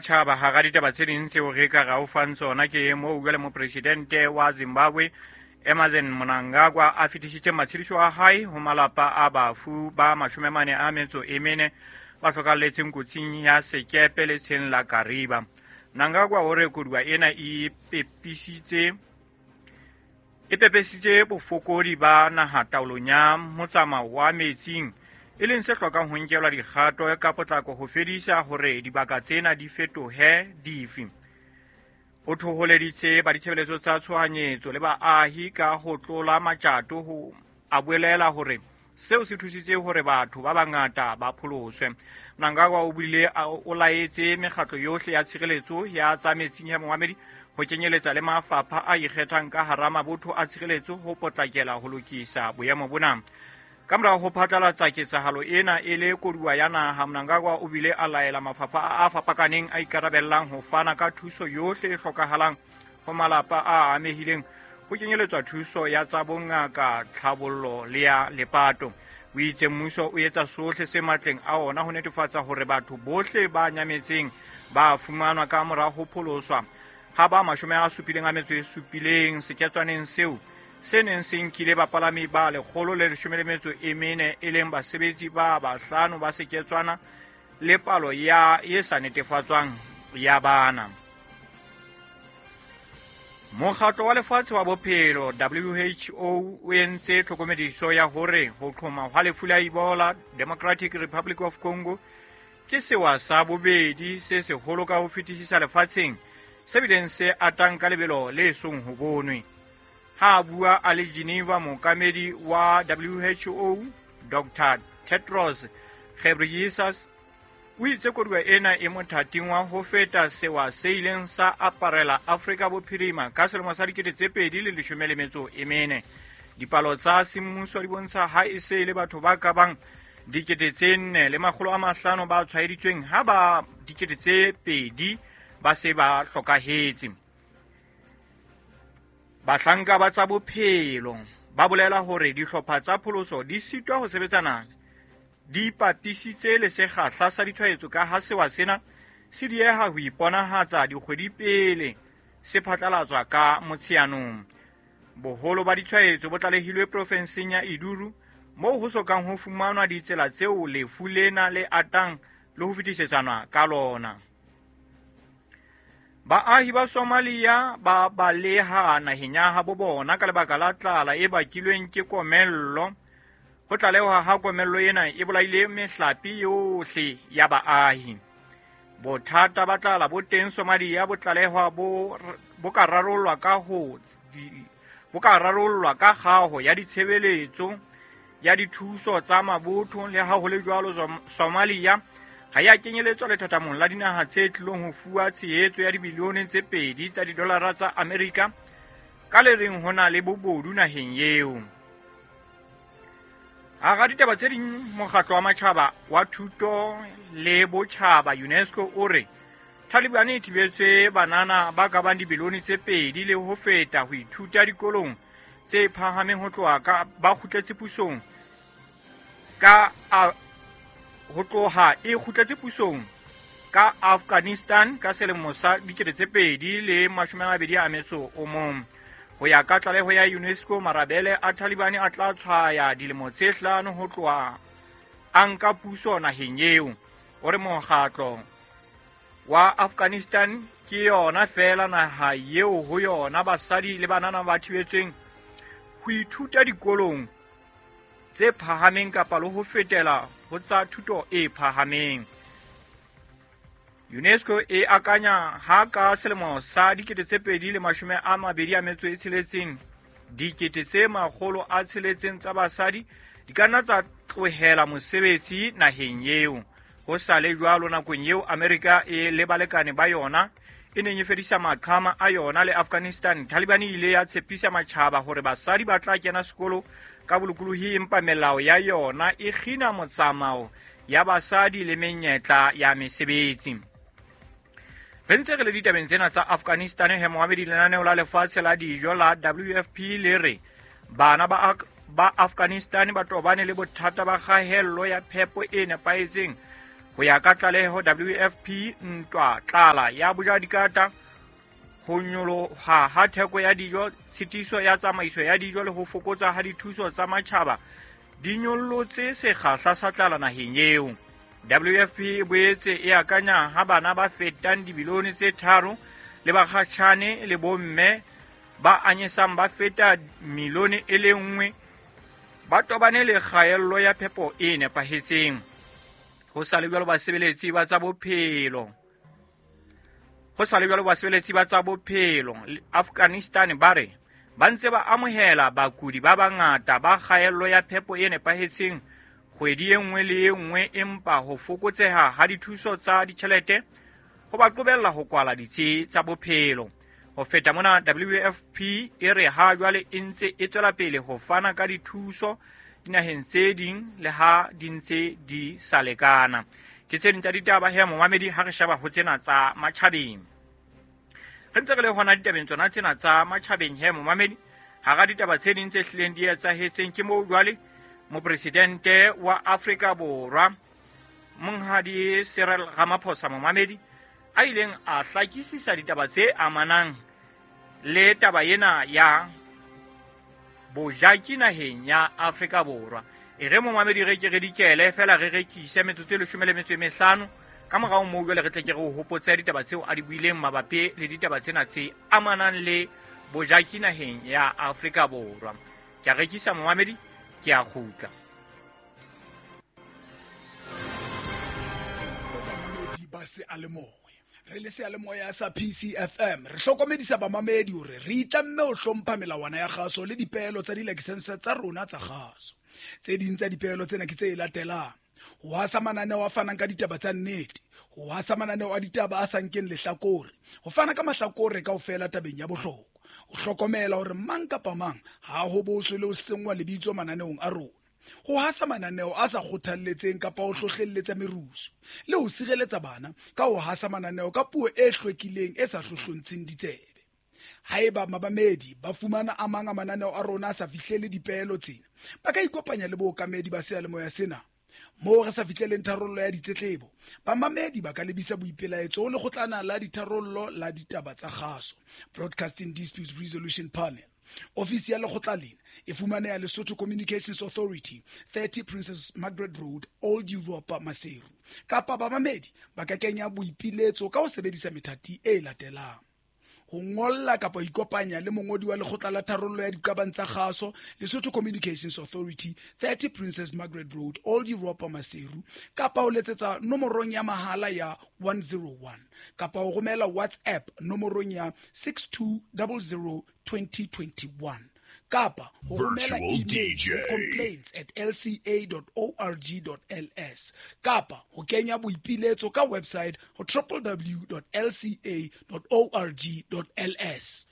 matjhaba hara ditaba tse ding tseo re ka ra o fang tsona ke moo jwale mopresidente wa Zimbabwe Emmerson Mnangagwa a fetisitse matshediso a hae ho malapa a bafu ba 44 ba hlokalletseng kotsing ya sekepe letsheng la Kariba. Mnangagwa o re koduwa ena e pepesitse bofokodi ba naha taolong ya motsamao wa metsing, e leng se hlokang ho nkelwa dikgato ka potlako ho fedisa hore dibaka tsena di fetohe difi. O thoholeditse ba ditshebeletso tsa tshohanyetso le baahi ka ho tlola matjato ho a bolela hore seo se thusitse hore batho ba bangata ba pholoswe. Mnangagwa o bile o laetse mekgatlo yohle ya tshireletso ya tsa metsing ya momamedi ho kenyeletsa le mafapha a ikgethang ka hara mabotho a tshireletso ho potlakela ho lokisa boemo bona. Ka morao ho phatlalatsa ketsahalo ena e le koduwa ya naha, Mnangagwa o bile a laela mafapha a fapakaneng a ikarabellang ho fana ka thuso yohle e hlokahalang ho malapa a amehileng, ho kenyeletswa thuso ya tsa bongaka, tlhabollo le ya lepato. O itse mmuso o etsa sohle se matleng a ona ho netefatsa hore batho bohle ba nyametseng ba fumanwa ka mora ho pholoswa ha ba 77 seketswaneng seo se neng se nkile bapalami ba 114 e leng basebetsi ba 5 ba seketswana le palo ya e sa netefatswang ya bana. Mokgatlo wa Lefatshe wa Bophelo WHO o entse tlhokomediso ya hore ho qhoma hwa lefu la Ebola Democratic Republic of Congo ke sewa sa bobedi se seholo ka ho fetisisa lefatsheng, se bileng se atang ka lebelo le song ho bonwe. Ha a bua a le Geneva, mookamedi wa WHO Dr. Tedros Ghebreyesus o itse koduwa ena e mothating wa ho feta sewa se ileng sa aparela Afrika Bophirima ka selemo sa 2014. Dipalo tsa semmuso di bontsha ha e se le batho ba ka bang 4,500 ba tshwaeditsweng, ha ba 2,000 ba se ba hlokahetse. Bahlanka ba tsa bophelo ba bolela hore dihlopha tsa pholoso di sitwa ho sebetsana di ipapisitse le sekgahla sa ditshwaetso ka ha sewa sena se dieha ho iponahatsa dikgwedi pele se phatlalatswa ka Motsheanong. Boholo ba ditshwaetso bo tlalehilwe profenseng ya Iduru, moo ho sokang ho fumanwa ditsela tseo lefu lena le atang le ho fetisetsana ka lona. Baahi ba Somalia ba baleha naheng ya habo bona ka lebaka la tlala e bakilweng ke komello. Ho tlalehwa ha komello ena e bolaile mehlape yohle ya baahi. Bothata ba tlala bo teng Somalia bo tlalehwa bo ka rarollwa ka kgaho ya ditshebeletso ya dithuso tsa mabotho. Le ha ho le jwalo, Somalia ha ya kenyeletswa lethathamong la dinaha tse tlilong ho fuwa tshehetso ya dibilione tse 2 tsa didolara tsa Amerika ka le reng ho na le bobodu naheng eo. Hara ditaba tse ding, mokgatlo wa matjhaba wa thuto le botjhaba UNESCO o re Taliban e thibetse banana ba ka bang dibilione tse 2 le ho feta ho ithuta dikolong tse phahameng ho tloha ka ba kgutletse pusong ka ho tloha e kgutletse pusong ka Afghanistan ka selemo sa 2021. Ho ya ka tlaleho ya UNESCO, marabele a Taliban a tla tshwaya dilemo tse 5 ho tloha a nka puso naheng eo. O re mokgatlo wa Afghanistan ke yona feela naha eo ho yona basadi le banana ba thibetsweng ho ithuta dikolong tse phahameng kapa le ho fetela ho tsa thuto e phahameng. UNESCO e akanya ha ka selemo sa 2026 600,000 tsa basadi di ka nna tsa tlohela mosebetsi naheng eo. Ho sa le jwalo, nakong eo Amerika e le balekane ba yona e neng e fedisa maqhama a yona le Afghanistan, Taliban e ile ya tshepisa matjhaba hore basadi ba tla kena sekolo ka bolokolohi, empa melao ya yona e kgina motsamao ya basadi le menyetla ya mesebetsi. Re ntse re le ditabeng tsena tsa Afghanistan, he moamedi lenaneo la lefatshe la dijo la WFP le re bana ba Afghanistan ba tobane le bothata ba kgahello ya phepo e nepahetseng Ho ya ka tlaleho WFP, ntwa, tlala ya bojadikata, ho nyoloha ha theko ya dijo, tshitiso ya tsamaiso ya dijo le ho fokotsa ha dithuso tsa matjhaba di nyollotse sekgahla sa tlala naheng eo. WFP e boetse e akanya ha bana ba fetang dibilione tse 3 le bakgatjhane le bomme ba anyesang ba feta milione e le nngwe ba tobane le kgaello ya phepo e nepahetseng. Ho sa le jwalo basebeletsi ba tsa bophelo ho sa le jwalo basebeletsi ba tsa bophelo Afghanistan ba re ba ntse ba amohela bakudi ba bangata ba kgaello ya phepo e nepahetseng kgwedi e nngwe le e nngwe, empa ho fokotseha ha dithuso tsa ditjhelete ho ba qobella ho kwala ditsi tsa bophelo. Ho feta mona, WFP e re ha jwale e ntse e tswela pele ho fana ka dithuso dinaheng tse ding le ha di ntse di sa lekana. Ke tse ding tsa ditaba he momamedi ha re sheba ho tsena tsa matjhabeng. Re ntse re le hona ditabeng tsona tsena tsa matjhabeng he momamedi, hara ditaba tse ding tse hlileng di etsahetseng ke moo jwale mopresidente wa Afrika Borwa Monghadi Cyril Ramaphosa momamedi a ileng a hlakisisa ditaba tse amanang le taba ena ya bojaki naheng ya Afrika Borwa. E re momamedi re ke re dikele fela re rekise metsotso e 15 ka morao moo jwale re tle ke re o hopotse ditaba tseo a di buileng mabapi le ditaba tsena tse amanang le bojaki naheng ya Afrika Borwa. Ke a rekisa momamedi, ke a kgutla. Bamamedi ba seyalemoya, re le seyalemoya sa PCFM re hlokomedisa bamamedi hore re itlamme ho hlompha melawana ya kgaso le dipeelo tsa dilakesense tsa rona tsa kgaso. Tse ding tsa dipeelo tsena ke tse latelang: ho hasa mananeo a fanang ka ditaba tsa nnete, ho hasa mananeo a ditaba a sa nkeng lehlakore, ho fana ka mahlakore kaofela tabeng ya bohlokwa, ho hlokomela hore mang kapa mang ha ho boswe le ho senngwa lebitso mananeong a rona, ho hasa mananeo a sa kgothalletseng kapa ho hlohlelletsa merusu, le ho sireletsa bana ka ho hasa mananeo ka puo e hlwekileng e sa hlohlontsheng ditsebe. Haeba mabamedi ba fumana a mang a mananeo a rona a sa fihlele dipeelo tsena, ba ka ikopanya le bookamedi ba seyalemoya sena. Moo re sa fihleleng tharollo ya ditletlebo, bamamedi ba ka lebisa boipelaetso ho lekgotlana la ditharollo la ditaba tsa kgaso, Broadcasting Disputes Resolution Panel. Ofisi ya lekgotla lena e fumaneha Lesotho Communications Authority, 30 Princess Margaret Road, Old Europa, Maseru. Kapa bamamedi ba ka kenya boipiletso ka ho sebedisa methati e latelang: ho ngolla kapa ho ikopanya le mongodi wa lekgotla la tharollo ya diqabang tsa kgaso, Lesotho Communications Authority, 30 Princess Margaret Road, Old Europa, Maseru, kapa ho letsetsa nomorong ya mahala ya 101, kapa ho romela WhatsApp nomorong ya 6200 2021, kapa ho romela Virtual email DJ. ho complaints@lca.org.ls, kapa ho kenya boipiletso ka website ho www.lca.org.ls.